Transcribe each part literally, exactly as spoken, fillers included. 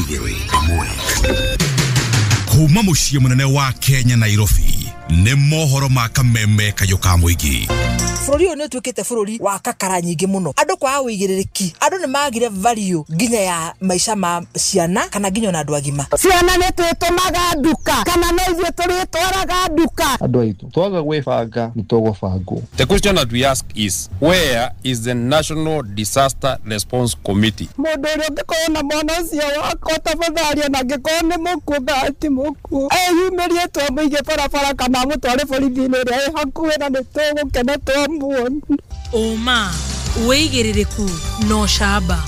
Igĩrĩ ĩmwe kuma mũciĩ mũnene wa Kenya Nairobi nĩ mohoro ma kameme kayũ ka mũingĩ. Bũrũri ũyũ nĩ ũtuĩkĩte bũrũri wa kakara nyingĩ mũno, andũ kwaga ũigĩrĩrĩki, andũ nĩ magire value nginya ya maica ma ciana kana nginya ona andũ agima. Ciana nĩ twĩtũmaga nduka kana no ithuĩ tũrĩtwaraga nduka. Andũ aitũ twaga gwĩbanga nĩ tũgũbangwo. The question that we ask is, where is the National Disaster Response Committee? Mũndũ ũrĩa ũngĩkorwo na mwana ũcio wakwa tafadhali, ona angĩkorwo nĩ mũkuũ kana ti mũkuũ, eyumĩrie twamũige barabara kana amũtware borithi-inĩ ĩrĩa ĩ hakuhĩ na nĩ tũgũkena twamuona. Ũma, wĩigĩrĩrĩku na ũcamba.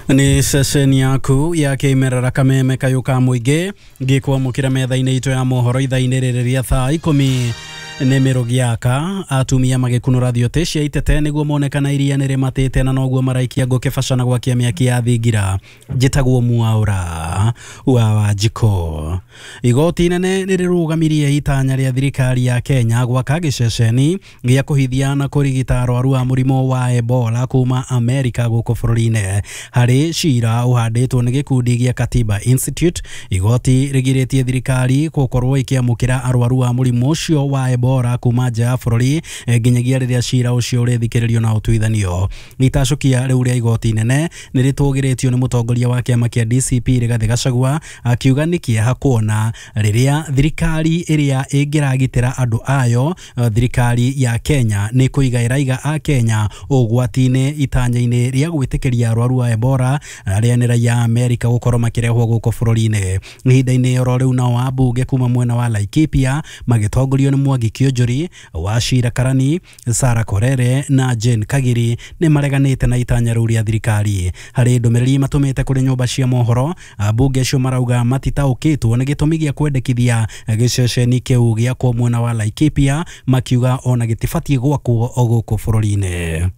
Nĩ ceceni yaku ya kĩmerera kameme kayũ ka mũingĩ ngĩkwamũkĩra metha-inĩ itũ ya mohoro ithaa-inĩ rĩrĩ rĩa thaa ikũmi nĩ mĩrũgĩaka atumia magĩkunũra thiote cia itete nĩguo monekana iria nĩ rĩmatĩte na noguo maraikia ngũkĩ baca na gwakia mĩaki ya thingira. Njĩtagwo Mwaũra wa Wanjikũ. Igoti inene nĩ rĩrũgamirie itanya rĩa thirikari ya Kenya gwaka gĩceceni gĩa kũhithia na kũrigita arwaru a mũrimũ wa Ebola kuma Amerika gũkũ bũrũri-inĩ. Harĩ cira ũhandĩtwo nĩ gĩkundi gĩa Katiba Institute, igoti rĩgirĩtie thirikari gũkorwo ĩkĩamũkĩra arwaru a mũrimũ ũcio wa Ebola kuma nja ya bũrũri nginyagia rĩrĩa cira ũcio ũrĩthikĩrĩrio na ũtuithanio. Itacũkia rĩu rĩa igoti inene nĩ rĩtũgĩrĩtio nĩ mũtongoria wa kĩama kĩa D C P Rigathĩ Gachagua akiuga nĩ kĩeha kuona rĩrĩa thirikari ĩrĩa ĩngĩragitĩra andũ ayo thirikari ya Kenya nĩ kũiga ĩraiga a Kenya ũgwati-inĩ itanya-inĩ rĩa gwĩtĩkĩria arwaru a Ebola arĩa nĩ raia a Amerika gũkorwo makĩrehwo gũkũ bũrũri-inĩ. Ihinda-inĩ oro rĩu nao ambunge kuma mwena wa Laikipia magĩtongorio nĩ Mwangi Kĩonjori, Wachira Karani, Sarah Korere na Jane Kagiri nĩ mareganĩte na itanya rĩu rĩa thirikari. Harĩ ndũmĩrĩri matũmĩte kũrĩ nyũmba cia mohoro, ambunge acio marauga matitaũkĩtwo nĩ gĩtũmi gĩa kwendekithia gĩceceni kĩu gĩakwo mwena wa Laikipia, makiuga ona gĩtibatiĩ gwakwo o gũkũ bũrũri-inĩ.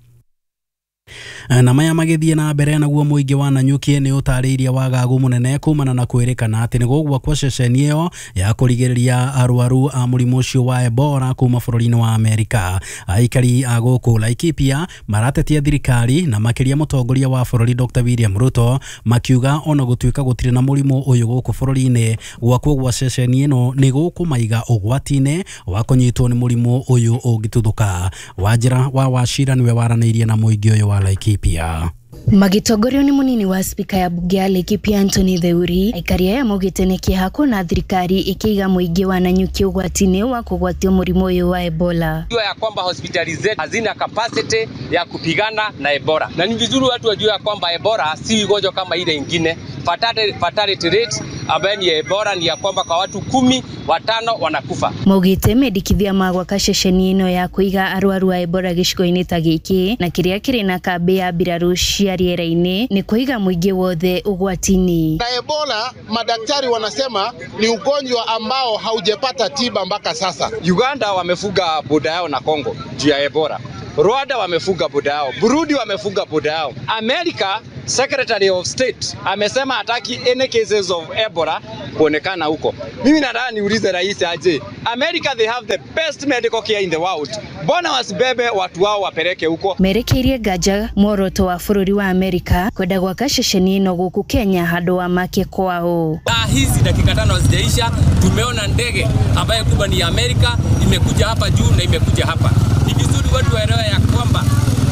Na maya magĩthiĩ na mbere naguo mũingĩ wa Nanyuki nĩ ũtarĩirie wagagu mũnene kumana na kwĩrĩkana atĩ nĩ gũgwakwo ceceni ĩyo ya kũrigĩrĩria arwaru a mũrimũ ũcio wa Ebola kuma bũrũri-inĩ wa Amerika. Aikari a gũkũ Laikipia maratetia thirikari na makĩria mũtongoria wa bũrũri Doctor William Ruto makiuga ona gũtuĩka gũtirĩ na mũrimũ ũyũ gũkũ bũrũri-inĩ, gwakwo gwa ceceni ĩno nĩ gũkũmaiga ũgwati-inĩ wa kũnyitwo nĩ mũrimũ ũyũ ũngĩtuthũka. Wanjĩra wa Wachira nĩwe waranĩirie na mũingĩ ũyũ wa Laikipia. Magĩtongorio nĩ mũnini wa spika ya bunge ya Laikipia Anthony Theuri, aikari aya maugĩte nĩ kĩeha kuona thirikari ĩkĩiga mũingĩ wa Nanyuki ũgwati-inĩ wa kũgwatio mũrimũ ũyũ wa Ebola. Jua ya kwamba hospitali zetu hazina capacity ya kupigana na Ebola, na ni vizuri watu wajue ya kwamba Ebola si ugonjwa kama ile ingine. Fatality, fatality rate ambayo ni Ebola ni ya kwamba kwa watu kumi watano wanakufa. Maugĩte mendekithia ma gwaka ceceni ĩno ya kũiga arwaru a Ebola gĩcigo-inĩ ta gĩkĩ na kĩrĩa kĩrĩ na kambĩ ya mbirarũ cia rĩera-inĩ nĩ kũiga mũingĩ wothe ũgwati-inĩ. Na Ebola madaktari wanasema ni ugonjwa ambao haujapata tiba mpaka sasa. Uganda wamefuga boda yao na Kongo juu ya Ebola. Rwanda wamefuga boda yao, Burundi wamefuga boda yao. America Secretary of State amesema hataki any cases of Ebola kuonekana huko. Mimi nataka niulize rais aje, America they have the best medical care in the world, mbona wasibebe watu wao wapeleke huko? Merekeirie nganja muoroto wa bũrũri wa Amerika kwenda gwaka ceceni ĩno gũkũ Kenya handũ wa make kwao. Saa hizi dakika tano hazijaisha tumeona ndege ambayo kubwa ni ya Amerika imekuja hapa juu na imekuja hapa. Ni vizuri watu waelewe ya kwamba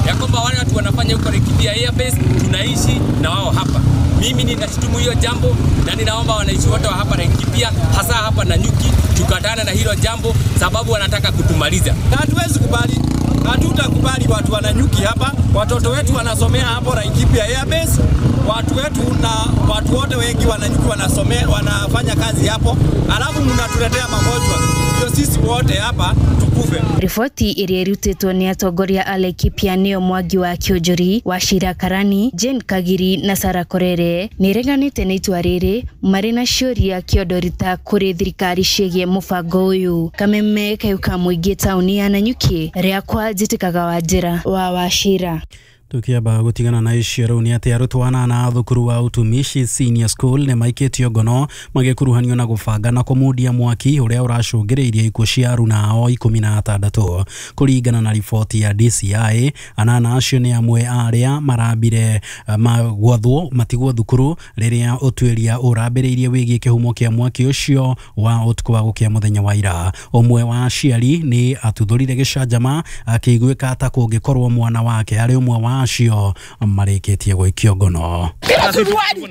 ya kwamba wale watu wanafanya huko Laikipia Airbase tunaishi na wao hapa. Mimi ninashutumu hiyo jambo na ninaomba wananchi wote wa hapa Laikipia hasa hapa Nanyuki tukatane na hilo jambo sababu wanataka kutumaliza. Hatuwezi kubali, hatutakubali watu wa Nanyuki hapa, watoto wetu wanasomea hapo Laikipia Airbase, watu wetu na watu wote wengi wa Nanyuki wanasomea, wanafanya kazi hapo, alafu mnatuletea magonjwa. Ndio sisi wote hapa tukufe. Riboti ĩrĩa ĩrutĩtwo nĩ atongoria a Laikipia nĩo Mwangi wa Kĩonjori, Wachira Karani, Jane Kagiri na Sarah Korere nĩ ĩreganĩte na itua rĩrĩ marĩ na ciũria kĩondorita kũrĩ thirikari ciĩgiĩ mũbango ũyũ. Kameme kayũ ka mũingĩ taũni ya Nanyuki rĩakwa njĩtĩkaga Wanjĩra wa Wachira. Tukiamba gutigana na icio riu ni ati arutwo anana a thukuru wa Utumishi Senior School nĩ maikĩtio ngono magĩkuruhanio na gũbanga na kũmundia mwaki ũrĩa ũracũngĩrĩirie ikuũ cia aruna ao ikũmi na atandatũ. Kũringana na riboti ya D C I, anana acio nĩ amwe a arĩa marambire magwathwo matigwo thukuru rĩrĩa ũtuĩria ũrambĩrĩirie wĩgiĩ kĩhumo kĩa mwaki ũcio wa ũtukũ wa gũkĩa mũthenya wa ira. Ũmwe wa aciari nĩ atuthũrire gĩcanjama akĩiguĩka ta kũngĩkorwo mwana wake arĩ ũmwe wa acio marĩkĩtie gũikio ngono. Bila suruali.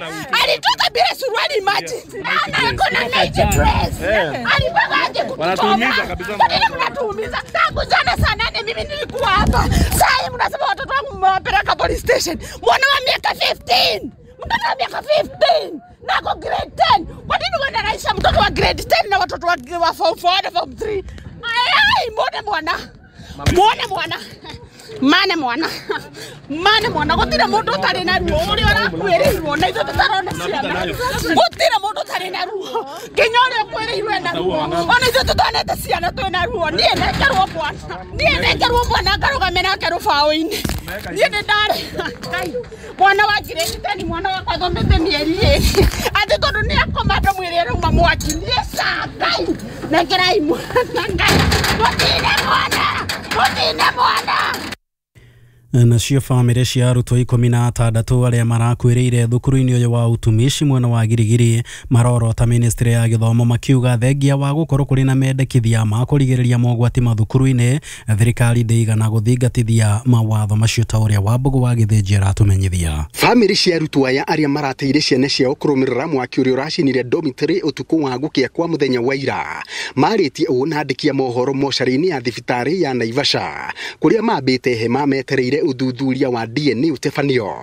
Alitoka bila suruali, imagine. Ana ako na night dress. Alipanga aje kututoa. Kwa nini mnatuumiza? Tangu jana saa nane mimi nilikuwa hapa. Saa hii mnasema watoto wangu mmewapeleka police station. Mwana wa miaka fifteen. Mtoto wa miaka fifteen. Nako grade ten. Kwa nini wanaraisha mtoto wa grade ten na watoto wa form four na form three? Ai, mbona mwana? Mbona mwana? Mane mwana, mane mwana, gutire mundu utari na ruo uria urakuirirwo na ithuĩ tũtarona ciana, gutire mundu utari na ruo nginya uria ũkuĩrĩirwo ena ruo, ona ithuĩ tũtonete ciana twĩna ruo. Niĩ nengerwo mwana, niĩ nengerwo mwana ngarũgame nake rũbaũ-inĩ, niĩ nĩ ndarĩ Ngai mwana wa grade ten, mwana wakwa athomete mĩeri ĩrĩ atĩ tondũ nĩ akoma ndamwĩre arauma mwaki. Niĩ ca Ngai nengerai mwana, Ngai mũtine mwana, mũtine mwana. Nacio bamĩrĩ cia arutwo ikũmi na atandatũ arĩa marakuĩrĩire thukuru-inĩ ũyũ wa Utumishi mwena wa Girigiri marorota ministry ya gĩthomo makiuga thengia wa gũkorwo kũrĩ na mendekithia ma kũrigĩrĩria mogwati mathukuru-inĩ, thirikari ndĩigana gũthingatithia mawatho macio ta ũrĩa Wambũgũ wa Gĩthĩnji aratũmenyithia. Bamĩrĩ cia arutwo aya arĩa marateire ciana ciao kũrũmĩrĩra mwaki ũrĩa ũracinire dormitory ũtukũ wa gũkĩa kwa mũthenya wa ira marĩtie ũũ na andĩki a mohoro mocarĩ-inĩ ya thibitarĩ ya Naivasha kũrĩa mambĩte hema metereire uthuthuria wa D N A ũtebanio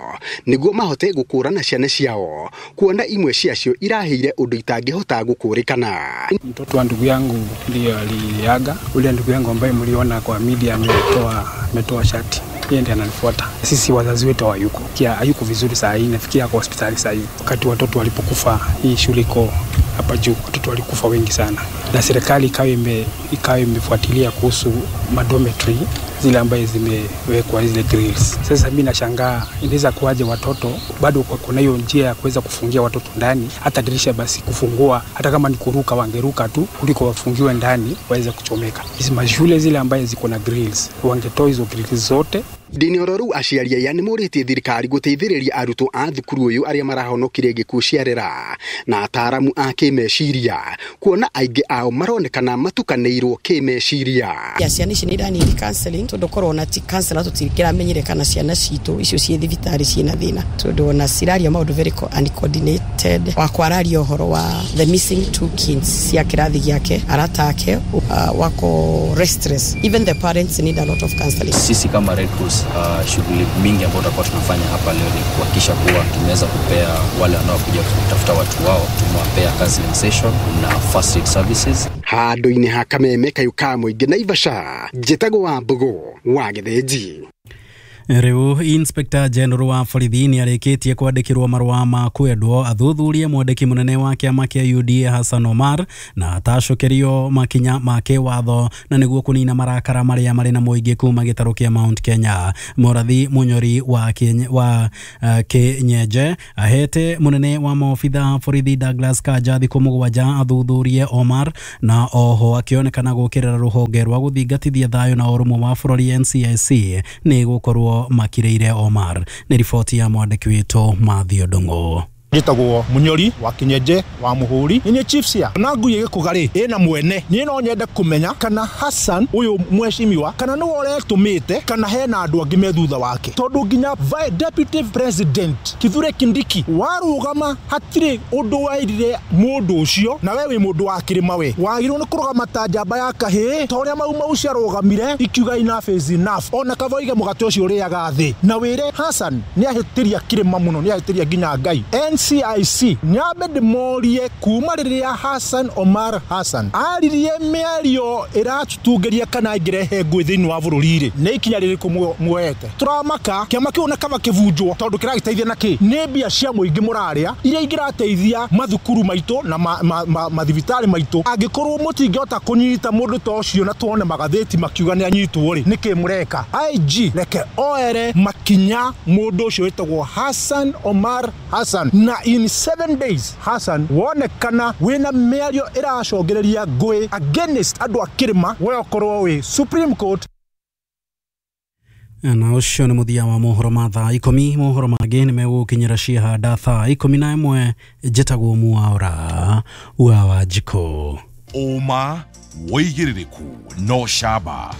nĩguo mahote gũkũrana ciana ciao kuona imwe ciacio iraheire ũndũ itangĩhota gũkũrĩkana. Mtoto wa ndugu yangu ndiye aliaga, ule ndugu yangu ambaye mliona kwa media ametoa ametoa shati, yeye ndiye ananifuata. Sisi wazazi wetu hayuko, kia hayuko vizuri saa hii, nafikia kwa hospitali saa hii. Wakati watoto walipokufa, hii shule iko hapa juu, watoto walikufa wengi sana, na serikali ikawa ime ikawa imefuatilia kuhusu madometry zile ambaye zimewekwa zile grills. Sasa mimi nashangaa inaweza kuwaje watoto bado kuna hiyo njia ya kuweza kufungia watoto ndani, hata dirisha basi kufungua, hata kama ni kuruka wangeruka tu kuliko wafungiwe ndani waweze kuchomeka. Hizi mashule zile ambaye ziko na grills wangetoa hizo grills zote. Ndini ororu aciari aya nĩ morĩtie thirikari gũteithĩrĩria arutwo a thukuru ũyũ arĩa marahonokire gĩkuũ ciarera na ataaramu a kĩmeciria kuona aingĩ ao maronekana matukanĩirwo kĩmeciria. Ya ciana ici nĩ iraniri counseling tondũ korwo na ti counselor tũtiramenyire kana ciana citũ icio ciĩ thibitarĩ ciĩna thĩna, tondũ ona ciraria maũndũ very uncoordinated. Wakwa araria ũhoro wa the missing two kids cia kĩrathi gĩake, arata ake uh, wako restless. Even the parents need a lot of counseling. Sisi kama Red Cross, Uh, shughuli mingi ambayo tutakuwa tunafanya hapa leo ni kuhakikisha kuwa tumeweza kupea wale wanaokuja kutafuta watu wao, tumewapea counseling session na first aid services. Handũ-inĩ ha Kameme kayũ ka mũingĩ Naivasha, njĩtagwo Wambũgũ wa Gĩthĩnji. Rĩu Inspector General wa borithi nĩ arĩkĩtie kwandĩkĩrwo marũa ma kwendwo athuthurie mwandĩki mũnene wa kĩama kĩa U D A Hassan Omar na atacokerio makinya ma kĩwatho na nĩguo kũnina marakara marĩa marĩ na mũingĩ kuma gĩtarũ kĩa Mount Kenya. Mũrathi Mũnyori wa Kenya, wa uh, Kĩnyenje ahete mũnene wa maobitha borithi Douglas Kanja thikũ mũgwanja athuthurie Omar na oho akĩonekana gũkĩrĩra rũhonge rwa gũthingatithia thayũ na ũrũmwe wa bũrũri N C I C nĩ gũkorwo makireire Omar. Nĩ riboti ya mwandĩki witũ Mathew Ndung'u. Njĩtagwo Mũnyori wa Kĩnyenje wa Mũhũri, nĩ chief cia na ngui ĩgĩkũga rĩ ĩna mwene. Niĩ no nyende kũmenya kana Hassan ũyũ mheshimiwa kana nĩwe ũretũmĩte kana hena andũ angĩ me thutha wake, tondũ nginya deputy president Kithure Kindiki warũgama hatirĩ ũndũ wairire mũndũ ũcio, na we wĩ mũndũ wa kĩrĩma, we wagĩrĩirwo nĩ kũrũgama ta njamba ya kahĩĩ ta ũrĩa Mau Mau ciarũgamire ikiuga enough is enough. Ona kaba oige mũgate ũcio ũrĩaga thĩ, na wĩre Hassan nĩ ahĩtĩria kĩrĩma mũno, nĩ ahĩtĩria nginya Ngai. N C I C nyambe ndĩmorie kuma rĩrĩa Hassan Omar Hassan aririe mĩario ĩratũtungĩria kana ĩngĩrehe ngũĩ thĩinĩ wa bũrũri rĩ, nĩ ikinya rĩrĩkũ muoete? Tũramaka kĩama kĩu na kaba kĩbunjwo tondũ kĩragĩteithia na kĩ? Nĩ mbia cia mũingĩ mũrarĩa iria ingĩrateithia mathukuru maitũ na mathibitarĩ maitũ. Angĩkorwo mũtingĩhota kũnyita mũndũ ta ũcio na tuone magathĩti makiuga nĩ anyitwo rĩ, nĩkĩ mũreka? I G reke oere makinya mũndũ ũcio wĩtagwo Hassan Omar Hassan, na in seven days Hassan wonekana wĩna mĩario ĩracũngĩrĩria ngũĩ against andũ a kĩrĩma, we ũkorwo wĩ Supreme Court. Na ũcio nĩ mũthia wa mohoro ma thaa ikũmi. Mohoro mangĩ nĩ megũkinyĩra ciahanda thaa ikũmi na ĩmwe. Njĩtagwo Mwaura wa Wanjikũ. Ũma, wĩigĩrĩrĩku no camba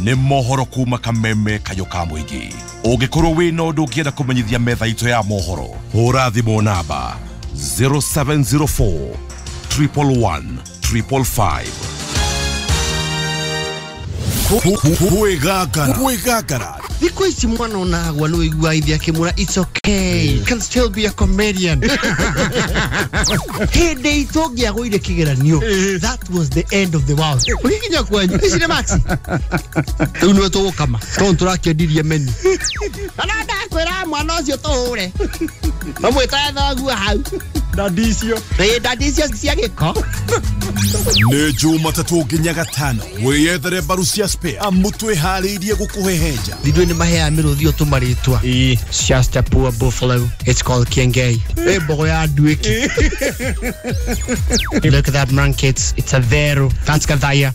nĩ mohoro kuma Kameme Kayũ ka Mũingĩ. Ũngĩkorwo wĩna ũndũ ũngĩenda kũmenyithia metha itũ ya mohoro, hũra thimũ namba zero seven zero four triple one triple five. Kwĩgangara kwĩgangara thikũ ici mwana onagwa nĩ ũigua ithe akĩmwĩra it's okay, you can still be a comedian. Hĩndĩ itũ ũngĩagũire kĩgeranio, that was the end of the world. Ũgĩkinya kwanyu ici nĩ maxi rĩu nĩwe tũgũkama tondũ tũrakĩendirie menu. Na ndakwĩra mwana ũcio tũhũre mamwĩtae thoguo hau ndandi icio ĩĩ ndandi icio cia gĩko. Nĩ Jumatatũ nginya Gatano wĩyethere mbaru cia spare amu twĩharĩirie gũkũhehenja. Ithuĩ nĩ maheaga mĩrũthi ũtũmarĩtwa. It's just a poor buffalo, it's called Kiengei. Ĩ mbogo ya nduĩki. Look at that man kids, it's a vero, that's Gathaya.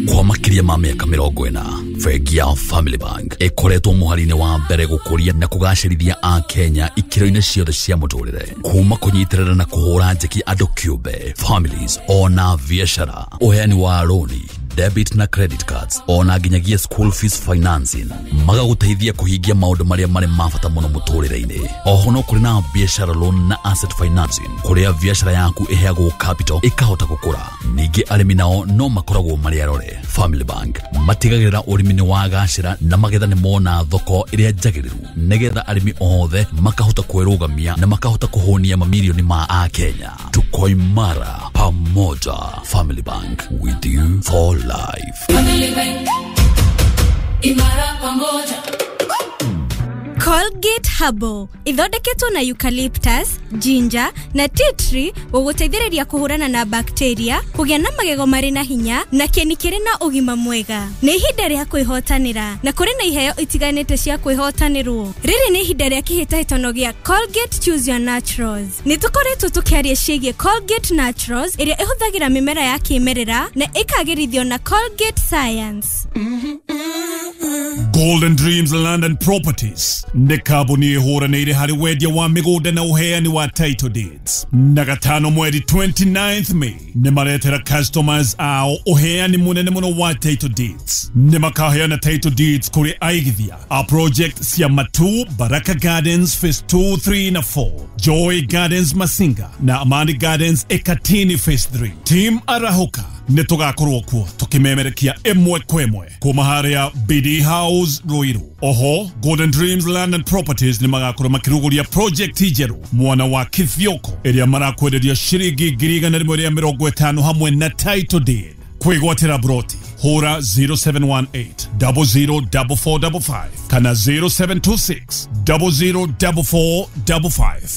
Kwa makĩria ma mĩaka mĩrongo ĩna, bengi ya Family Bank ĩkoretwo mũhari-inĩ wa mbere gũkũria na kũgacĩrithia a Kenya ikĩro-inĩ ciothe cia mũtũrĩre, kuma kũnyitĩrĩra na kũhũra njeki andũ kĩũmbe, families ona biacara, ũheani wa rũni, debit na credit cards, ona nginyagia school fees financing, magagũteithia kũhingia maũndũ marĩa marĩ ma bata mũno mũtũrĩre-inĩ. Oho no kũrĩ na biacara loan na asset financing, kũrĩa biacara yaku ĩheagwo capital ĩkahota gũkũra. Ningĩ arĩmi nao no makoragwo marĩ arore. Family Bank matigagĩrĩra ũrĩmi nĩ wagacĩra na magetha nĩ mona thoko ĩrĩa njagĩrĩru, nĩgetha arĩmi othe makahota kwĩrũgamia na makahota kũhũnia mamirioni ma a Kenya. Tuko imara pamoja. Family Bank, with you for life. Family Bank, imara pamoja. Colgate Herbal ithondeketwo na eucalyptus, ginger na tea tree gũgũteithĩrĩria kũhũrana na bacteria, kũgĩa na magego marĩ na hinya na kĩni kĩrĩ na ũgima mwega. Nĩ ihinda rĩa kwĩhotanĩra na kũrĩ na iheo itiganĩte cia kwĩhotanĩrwo. Rĩrĩ nĩ ihinda rĩa kĩhĩtahĩtano gĩa Colgate Choose Your Naturals. Nĩ tũkoretwo tũkĩaria ciĩgiĩ Colgate Naturals ĩrĩa ĩhũthagĩra mĩmera ya kĩmerera na ĩkagĩrithio na Colgate Science. Golden Dreams Land and Properties nĩ kambuni ĩhũranĩire harĩ wendia wa mĩgũnda na ũheani wa title deeds. Na gatano mweri twenty-ninth May nĩ maretera customers ao ũheani mũnene mũno wa title deeds. Nĩ makaheana title deeds kũrĩ aigithia a project cia Matu Baraka Gardens Phase two, three na four, Joy Gardens Masinga na Amani Gardens Ekatini Phase three. Team Arahoka nĩ tũgakorwo kuo tũkĩmemerekia ĩmwe kwa ĩmwe kuma harĩa B D House Ruiru. Oho Golden Dreams Land and Properties nĩ magakorwo makĩrugũria project njerũ mwana wa Kithioko ĩrĩa marakwenderia ciringi ngiri igana rĩmwe rĩa mĩrongo ĩtano hamwe na title deed. Kwĩgwatĩra broti hũra zero seven one eight double zero double four double five kana zero seven two six double zero double four double five.